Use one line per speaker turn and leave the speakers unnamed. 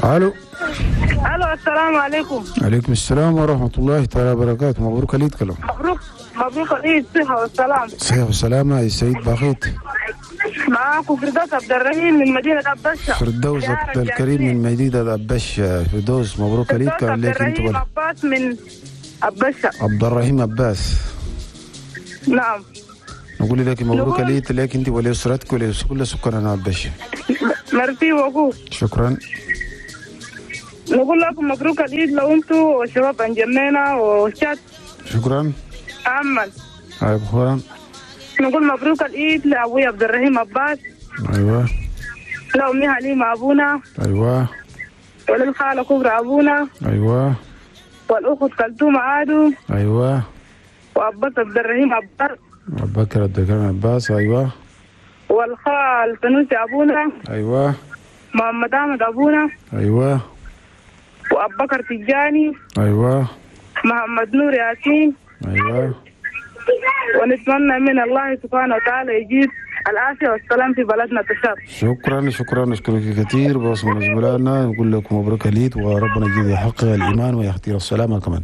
الو.
الو، السلام عليكم.
عليكم السلام ورحمة الله تعالى وبركاته. مبروك العيد كلام.
مبروك مبروك العيد، صحة والسلام.
صحة والسلامة يا سيد باخيت.
معاكم فردوس عبد الرحيم من مدينة أبشة.
فردوس عبد الكريم من مدينة أبشة. فردوس مبروك العيد
فردوس
كلام
عبد
لك انت
الرحيم عباس من أبشة.
عبد الرحيم عباس.
نعم.
نقول لك مبروك
نقول-
العيد لك انت ولاسرتك ولكل سكان أبشة.
merci beaucoup.
شكرا.
نقول لكم مبروك العيد لو انتوا والشباب انجمينا وشات
شكرا.
عمل.
ايوه.
نقول مبروك العيد لأبوي عبد الرحيم عباس،
ايوه.
لأمي حليمة أبونا،
ايوه.
وللخالة كبرى أبونا،
ايوه.
والأخت كلثوم عادو،
ايوه.
وعباس عبد الرحيم عباس،
ابو بكر عبد الكريم عباس. ايوه.
والخال سنوسي أبونا،
ايوه.
محمد أحمد أبونا،
ايوه.
وأبو بكر تجاني،
ايوه.
محمد نور ياسين.
ايوه.
ونتمنى من الله سبحانه وتعالى يجيب العافية والسلام في بلدنا تشاد.
شكرا شكرا، نشكرك كثير باسم زملائنا، نقول لكم مبروك العيد وربنا يجيب يحقق الايمان ويختير السلامة كمان.